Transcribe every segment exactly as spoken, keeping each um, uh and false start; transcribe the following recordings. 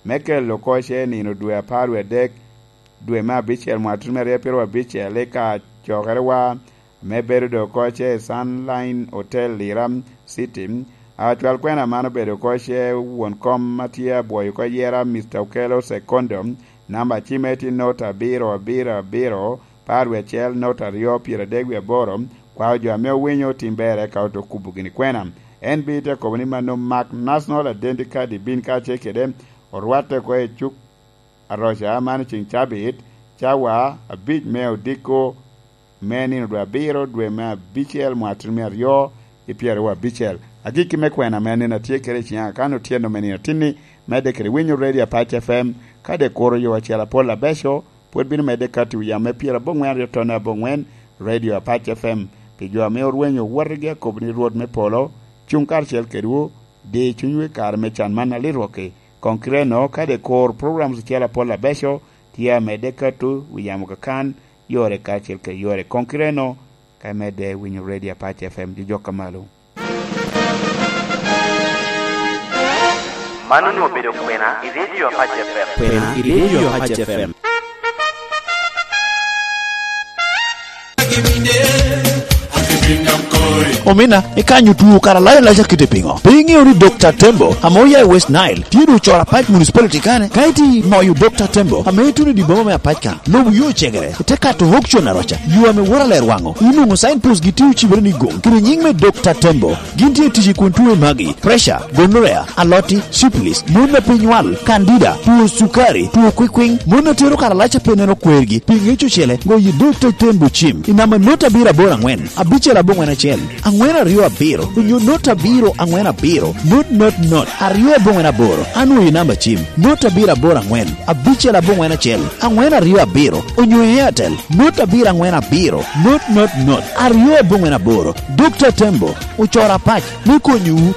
me kelo oko ce nino dwe apar wie adek, dwe me abicel, mwaka tutumia aryo pyeraryo abicel, i kacokerewa ame bedo doŋ oko ce i Sunline Hotel, Lira City. Acwal kwena man obedo oko ce won kom a tye abwoyo oko yera, Mister Okello Sekondo, namba cimme tye not abiro abiro abiro, apar wie acel, not aryo, pyeradek wie aboro. Kwao jo ame owinyo otim ber, eka ote kubo gini kwena. En bino te kobo ni mano mak National Identity Card, ibin kacel kede orwatte oko i cuk aroca, mano ceŋ cabit, cawa abic me odiko me nino dwe abiro, dwe me abicel, mwaka tutumia aryo i pyeraryo abicel. Agikki me kwena ame aneno atye kede i ciŋa, kan otyeno me nino tinni, medde kede winyo Radio Apac F M, kadi kuro yo acel apol abeco, pwod bino medde kati wi yam me pyeraboŋwen aryo tonne aboŋwen, Radio Apac F M. Pi jo ame orwenyo owotigi, akobo ni Rwot me polo cuŋ karacel kedwu, di cunywu i kare me can man alirwokki. Koŋ kite-no, kadi kur programs ocel apol abeco tye amedde katu wi yamo kakan, yore karacel kede yore. Koŋ kite-no, ka imedde winyo Radio Apac F M, jojok ka malo. Man onwoŋo obedo kwena i Radio Apac F M. Kwena i Radio Apac F M. Omina, ikanyo tuo kara layo laca kite piŋo? Pe iŋeo ni Dokta Tembo, ame oya i West Nile, tye doŋ ocoro Apac Municipality kane? Ka iti moyo Dokta Tembo, ame ituno i dye boma me Apac kan, lobo yo ocegere, ite kato auction aroca, yo ame wora ler waŋo. Inwoŋo signpost gi tye ocibere ni goŋ, kede nyiŋ me Dokta Tembo. Gin tye tic i kun tuo magi: pressure, gonorrhea, aloti, syphilis, mon a pe nywal, candida, tuo cukari, tuo kwikwiŋ, mon a tero karalac a pe neno kwergi, pi ŋec ocele, goyo i Dokta Tembo cim i namba not abiro aboro aŋwen, abicel aboŋwen acel, aŋwen aryo abiro, onyo not abiro aŋwen abiro, not not not, aryo aboŋwen aboro, anwoyo i namba cim, not abiro aboro aŋwen, abicel aboŋwen acel, aŋwen aryo abiro, onyo i Airtel, not abiro aŋwen abiro, not not not, aryo aboŋwen aboro. Dokta Tembo, ocoro Apac me konyowu.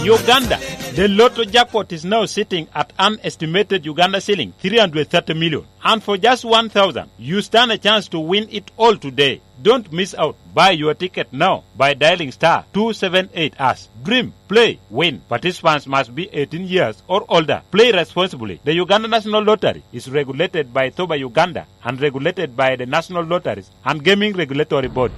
Uganda, the lotto jackpot is now sitting at an estimated Uganda shilling three hundred thirty million. And for just one thousand, you stand a chance to win it all today. Don't miss out. Buy your ticket now by dialing star two seven eight hash. Dream, play, win. Participants must be eighteen years or older. Play responsibly. The Uganda National Lottery is regulated by thoba Uganda and regulated by the National Lotteries and Gaming Regulatory Board.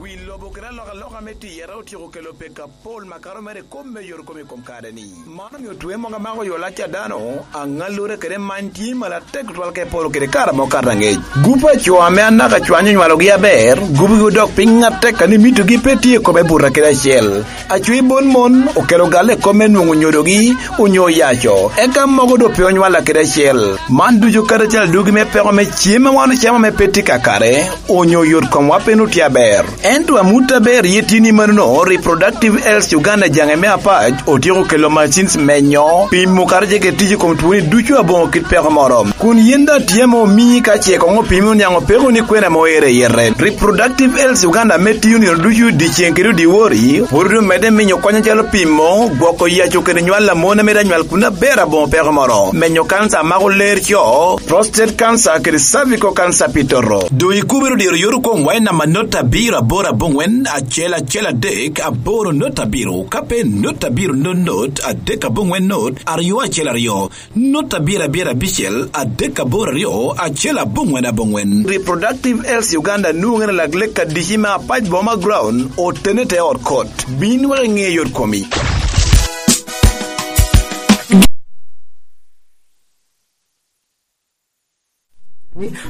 Wi lobo kede alokaloka me tiyere otyeko kelo pek apol makato mere i kop me yore kom i kom kare-ni. Man omio twe mogo amako yo lac a dano, aŋallure kede many tye malo atek tutwal ka eporo kede kare amo kato aŋec. Gup a co ame anaka cwanyo onywalogi aber, gupgi odok piny atek, a ni mitogi pe tye i kome buta kede acel. Acwi bon mon okelo galle i kop me nwoŋo nyodogi onyo oyaco, eka mogo doŋ pe onywalla kede acel. Man ducu kadi acel adwogi me peko me cem a wan ocamo ame pe tye kakare, onyo yot komwa pe nwoŋo tye aber. Ento amut aber iye tye ni manono, Reproductive Health Uganda jaŋe me Apac otyeko kelo machines menyo, pimo kadi ce kede tic i kom twoni ducu aboŋo kit peko moro. Kun yin daŋ tye ame omii ka ce koŋ opimi oniaŋ opeko ni kwena ame oero i yete. Reproductive Health Uganda ame tiyo nino ducu dyeceŋ kede odyewor, pwod omedde miyo kony acalo pimo, gwoko yaco kede nywal a mon a mito anywal kun aber aboŋo peko moro, menyo kanca a mako ler co, prostate cancer kede cervical cancer pi toto. Doŋ ikubere diro yot okomwa i namba not abiro aboro aboŋwen acel acel adek aboro not abiro, ka pe not abiro not not adek aboŋwen not aryo acel aryo, not abiro abiro abicel adek aboro aryo acel aboŋwen aboŋwen. Reproductive Health Uganda nwoŋere lak lek adici me Apac Boma Ground, otene te ot kot. Bin wek iŋe yot komi.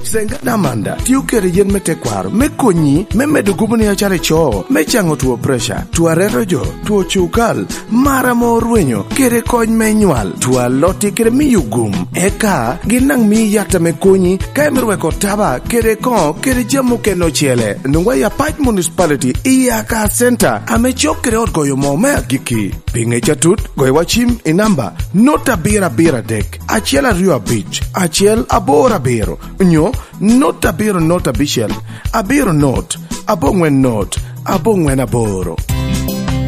Senga Damanda tio kede yen me tekwaro me konyi me medo gubo ni acalo ico, me caŋo two pressure, two areto jo, two cukal, mar ame orwenyo, kede kony me nywal, two aloti kede miyo gum. Eka gin daŋ mii yat ame konyi ka imito weko taba kede koŋo kede jami okene ocele. Nwoŋwa i Apac Municipality i Aka Center ame cok kede ot goyo moo me agikki. Pi ŋec atut, goywa cim i namba not abiro abiro adek, acel aryo abic, acel aboro abiro, nyo not abiro not abicel, abiro not, aboŋwen not, aboŋwen aboro.